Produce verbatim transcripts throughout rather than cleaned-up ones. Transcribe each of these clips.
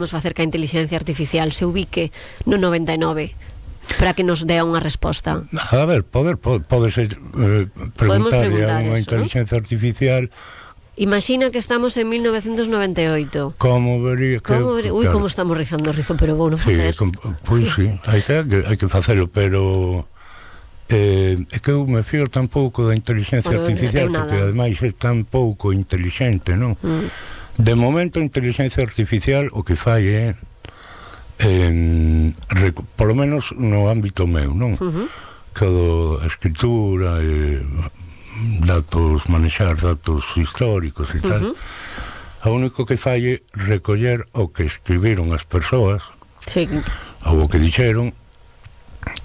Vamos facer que a inteligencia artificial se ubique no noventa e nove para que nos dea unha resposta. A ver, poder pode, pode ser eh, preguntarle a unha inteligencia, ¿no?, artificial. Imagina que estamos en mil novecientos noventa e oito. Como vería que... Como vería? Ui, claro, como estamos rizando o rizo, pero vou non facer. Sí, pois pues sí, hai que, hai que facelo, pero eh, é que eu me fío tan pouco da inteligencia bueno, artificial, porque ademais é tan pouco inteligente, non? Mm. De momento a inteligencia artificial o que fai é eh, rec- polo menos no ámbito meu, non? Uh-huh. Que do a escritura e datos, manexar datos históricos e tal. Uh-huh. O único que fai é recoller o que escribiron as persoas, sí, ou o que dixeron,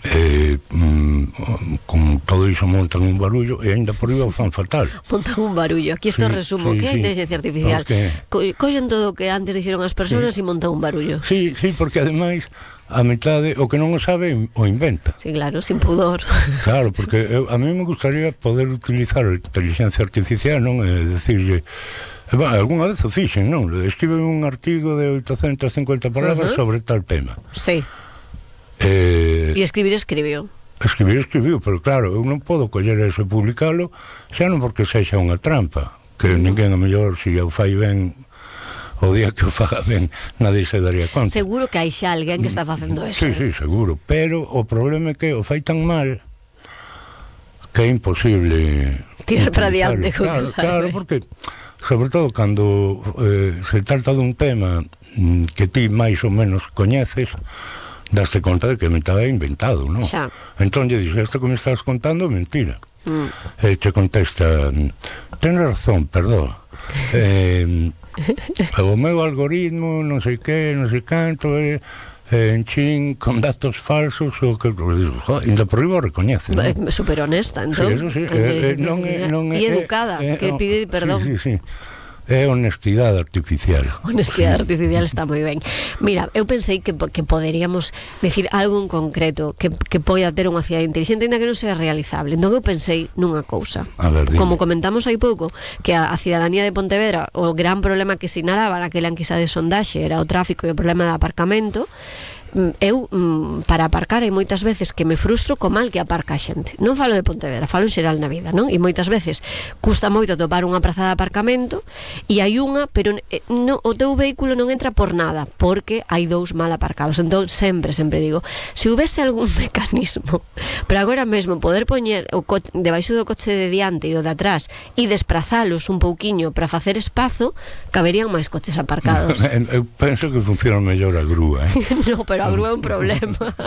eh, mm, con todo iso montan un barullo e ainda por iba o fan fatal. Montan un barullo, aquí isto sí, resumo, sí, que é a inteligencia artificial, okay. Co- collen todo o que antes dixeron as persoas sí. E montan un barullo. Sí, sí, porque ademais a metade o que non o sabe o inventa. Sí, claro, sin pudor. Claro, porque eu, a mí me gustaría poder utilizar a inteligencia artificial, non? É dicirlle, bueno, algunha vez o fixen, non? Escriben un artigo de oitocentas cincuenta palabras uh-huh. sobre tal tema. Sí. Eh, e escribir escribiu escribir escribiu, pero claro, eu non podo coller eso e publicalo, xa non porque sexa unha trampa, que ninguén a mellor se o fai ben o día que o faga ben nadie se daría conta. Seguro que hai xa alguén que está facendo eso. Sí, sí, seguro, pero o problema é que o fai tan mal que é imposible tirar para diante. Claro, claro, porque sobre todo cando eh, se trata dun tema mm, que ti máis ou menos coñeces, daste conta de que me estaba inventado, non? Xa. Entón lle dixo, isto que me estás contando é mentira. Mm. E te contesta, ten razón, perdón. eh, o meu algoritmo, non sei que, non sei canto, eh, en chin, con datos falsos, o que, joder, ainda por riba o recoñece, non? É super honesta, entón. Sí, eso sí. Eh, eh, non é, non é, e educada, eh, que pide perdón. Sí, sí, sí. É honestidade artificial. Honestidade sí. artificial está moi ben. Mira, eu pensei que, que poderíamos decir algo en concreto que, que poida ter unha cidade inteligente, ainda que non sea realizable. Entón eu pensei nunha cousa. A ver, como comentamos hai pouco, que a, a cidadanía de Pontevedra, o gran problema que sinalaba naquela enquisa de sondaxe era o tráfico e o problema de aparcamento. Eu, para aparcar, hai moitas veces que me frustro co mal que aparca a xente. Non falo de Pontevedra, falo en xeral na vida, non? E moitas veces custa moito topar unha praza de aparcamento e hai unha, pero no, o teu vehículo non entra por nada, porque hai dous mal aparcados. Entón, sempre, sempre digo, se houvese algún mecanismo para agora mesmo poder poñer o co- debaixo do coche de diante e do de atrás e desprazalos un pouquiño para facer espazo, caberían máis coches aparcados. Eu penso que funciona mellor a grúa, eh? No, pero a grúa é un problema.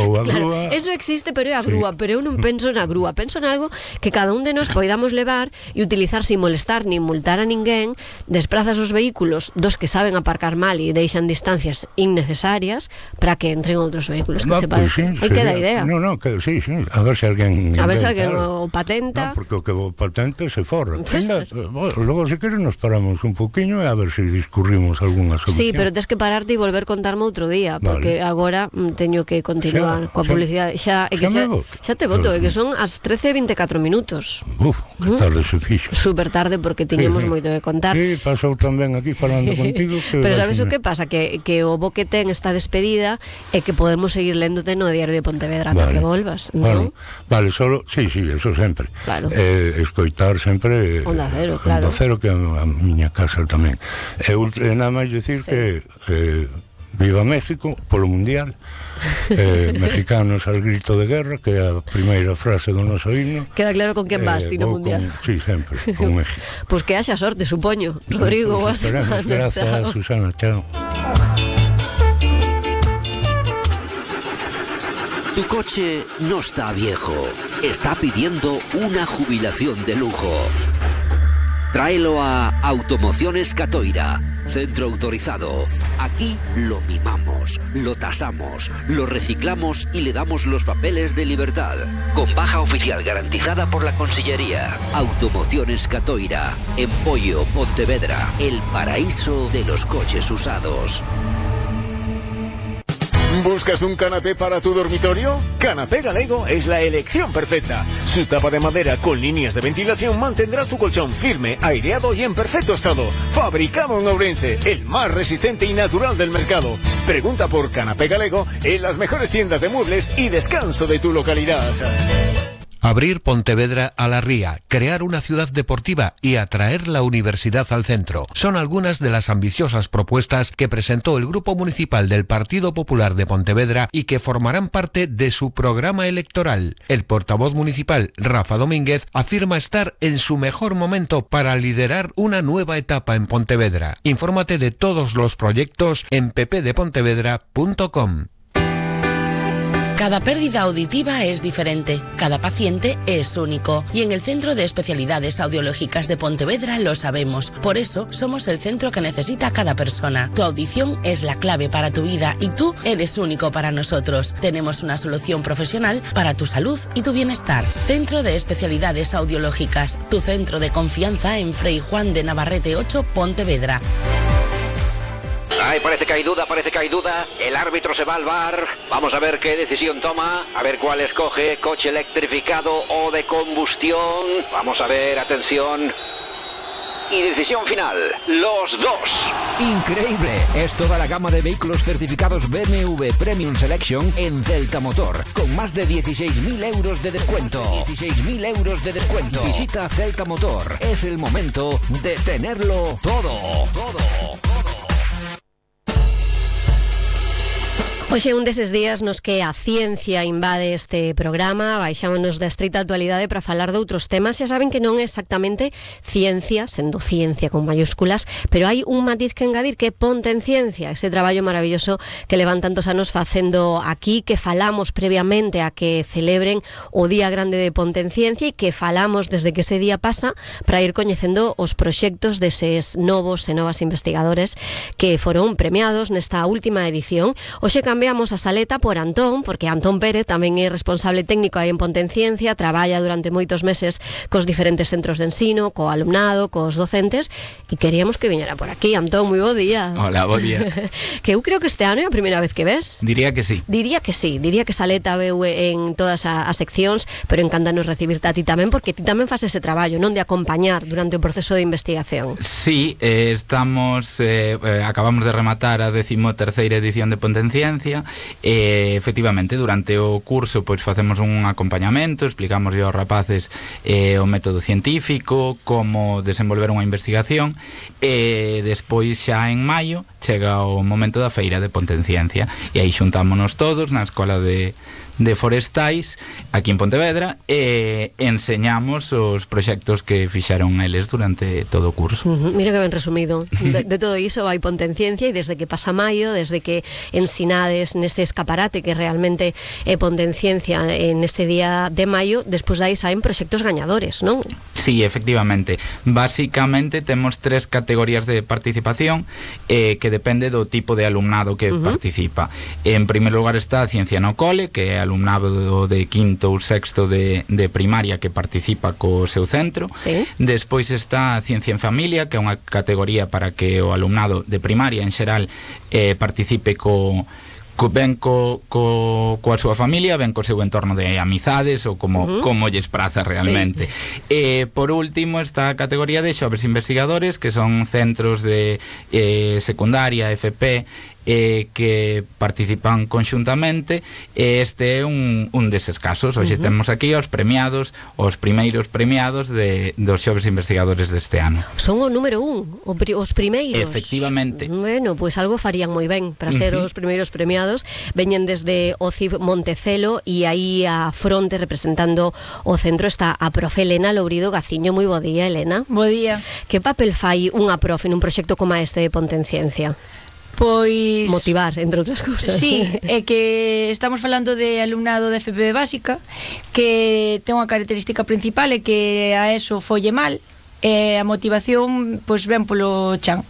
Ou a claro, grúa... eso existe, pero é a grúa, sí. Pero eu non penso na grúa, penso en algo que cada un de nós poidamos levar e utilizar sin molestar nin multar a ninguén, desprazas os vehículos dos que saben aparcar mal e deixan distancias innecesarias para que entren outros vehículos. Que no, che parece? Pues sí, hai que dar idea. No, no, que sí, sí, a ver se alguén a ver se alguén o patenta. No, porque o que o patente se forra. Pues, Ainda, bueno, logo se quere nos paramos un poquinho e a ver se discurrimos algunha solución. Sí, pero tens que pararte e volver contarme outro día, porque vale. Agora teño que continuar xa, coa publicidade. Xa, é que xa, xa te voto, é que son as trece e vinte e catro minutos. Uf, que tarde se fixo. Super tarde porque tiñemos sí, sí. moito que contar. Sí, pasou tamén aquí falando contigo. Que pero sabes o que pasa? Que, que o bo que ten esta despedida é que podemos seguir léndote no Diario de Pontevedra ata vale. Que volvas, non? Vale, vale, solo, sí, sí, eso sempre. Claro. Eh, escoitar sempre Onda Cero, claro. Onda Cero, que a, a miña casa tamén. E eh, nada máis dicir sí. que eh, viva México polo Mundial. eh, mexicanos al grito de guerra, que é a primeira frase do noso himno. Queda claro con quen vas ti no Mundial. Con, sí, sempre, con México. Pois pues que haxa sorte, supoño. Rodrigo, pues, boa semana. Gracias, chao. Susana, chao. Tu coche no está viejo, está pidiendo una jubilación de lujo. Tráelo a Automociones Catoira, centro autorizado. Aquí lo mimamos, lo tasamos, lo reciclamos y le damos los papeles de libertad. Con baja oficial garantizada por la Consellería. Automociones Catoira, en Pollo, Pontevedra, el paraíso de los coches usados. ¿Buscas un canapé para tu dormitorio? Canapé Galego es la elección perfecta. Su tapa de madera con líneas de ventilación mantendrá tu colchón firme, aireado y en perfecto estado. Fabricado en Ourense, el más resistente y natural del mercado. Pregunta por Canapé Galego en las mejores tiendas de muebles y descanso de tu localidad. Abrir Pontevedra a la ría, crear una ciudad deportiva y atraer la universidad al centro. Son algunas de las ambiciosas propuestas que presentó el Grupo Municipal del Partido Popular de Pontevedra y que formarán parte de su programa electoral. El portavoz municipal, Rafa Domínguez, afirma estar en su mejor momento para liderar una nueva etapa en Pontevedra. Infórmate de todos los proyectos en p p de pontevedra punto com. Cada pérdida auditiva es diferente, cada paciente es único y en el Centro de Especialidades Audiológicas de Pontevedra lo sabemos. Por eso somos el centro que necesita cada persona. Tu audición es la clave para tu vida y tú eres único para nosotros. Tenemos una solución profesional para tu salud y tu bienestar. Centro de Especialidades Audiológicas, tu centro de confianza en Frei Juan de Navarrete ocho, Pontevedra. Ay, parece que hay duda, parece que hay duda. El árbitro se va al V A R. Vamos a ver qué decisión toma. A ver cuál escoge. Coche electrificado o de combustión. Vamos a ver, atención. Y decisión final, los dos. Increíble, es toda la gama de vehículos certificados B M W Premium Selection en Celta Motor, con más de dieciséis mil euros de descuento. dieciséis mil euros de descuento. Visita Celta Motor, es el momento de tenerlo todo. Todo, todo. Hoxe un deses días nos que a ciencia invade este programa, baixámonos da estrita actualidade para falar de outros temas. Xa saben que non é exactamente ciencia, sendo ciencia con mayúsculas, pero hai un matiz que engadir, que Ponte en Ciencia, ese traballo maravilloso que levan tantos anos facendo aquí, que falamos previamente a que celebren o Día Grande de Ponte en Ciencia e que falamos desde que ese día pasa para ir coñecendo os proxectos deses novos e novas investigadores que foron premiados nesta última edición. Hoxe cambiamos a saleta por Antón, porque Antón Pérez tamén é responsable técnico aí en Ponte en Ciencia, traballa durante moitos meses cos diferentes centros de ensino, co alumnado, cos docentes, e queríamos que viñera por aquí. Antón, moi bo día. Hola, bo día. Que eu creo que este ano é a primeira vez que ves. Diría que sí. Diría que sí, diría que saleta veu en todas as seccións, pero encántanos recibirte a ti tamén, porque ti tamén faz ese traballo, non, de acompañar durante o proceso de investigación. Sí, eh, estamos, eh, eh, acabamos de rematar a decimoterceira edición de Ponte en Ciencia. E, efectivamente, durante o curso pois facemos un acompañamento, explicamos aos rapaces eh, o método científico, como desenvolver unha investigación, e despois xa en maio chega o momento da feira de Ponte en Ciencia e aí xuntámonos todos na Escola de de Forestais aquí en Pontevedra e enseñamos os proxectos que fixaron eles durante todo o curso. Uh-huh. Mira que ben resumido. De, de todo iso vai Ponte en Ciencia, e desde que pasa maio, desde que ensinades nese escaparate que realmente é Ponte en Ciencia en ese día de maio, despois dai saen proxectos gañadores, non? Sí, efectivamente. Básicamente temos tres categorías de participación eh, que depende do tipo de alumnado que uh-huh. participa. En primer lugar está a Ciencia no Cole, que é alumnado de quinto ou sexto de, de primaria que participa co seu centro. Sí. Despois está a Ciencia en Familia, que é unha categoría para que o alumnado de primaria en xeral eh, participe co Co, ben co, co, coa súa familia, ben co seu entorno de amizades ou como, uh-huh. como lles praza realmente. Sí. E por último está a categoría de xoves investigadores, que son centros de eh, secundaria, F P, eh, que participan conxuntamente, e este é un, un deses casos. Hoxe uh-huh. temos aquí os premiados, os primeiros premiados de, dos xoves investigadores deste ano. Son o número un, o pri, os primeiros. Efectivamente. Bueno, pois pues algo farían moi ben para ser uh-huh. os primeiros premiados. Veñen desde o C I B Montecelo e aí a fronte representando o centro está a profe Elena Lourido Gaciño. Moi bo día, Elena. Bo día. Que papel fai unha profe nun proxecto como este de Ponte en Ciencia? Pois... motivar, entre outras cousas. Sí, é que estamos falando de alumnado de F P básica que ten unha característica principal, é que a eso folle mal, e a motivación pois ven polo chan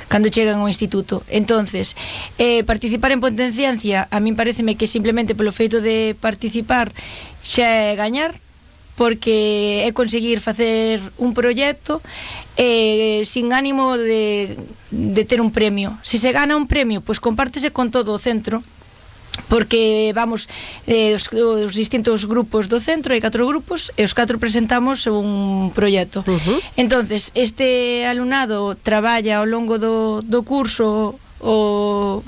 cando chegan ao instituto. Entonces, eh, participar en Ponte en Ciencia a min pareceme que simplemente polo feito de participar xa é gañar, porque é conseguir facer un proxecto eh, sin ánimo de, de ter un premio. Se se gana un premio, pois compártese con todo o centro, porque vamos eh, os, os distintos grupos do centro, hai catro grupos e os catro presentamos un proxecto. Uh-huh. Entonces, este alumnado traballa ao longo do, do curso o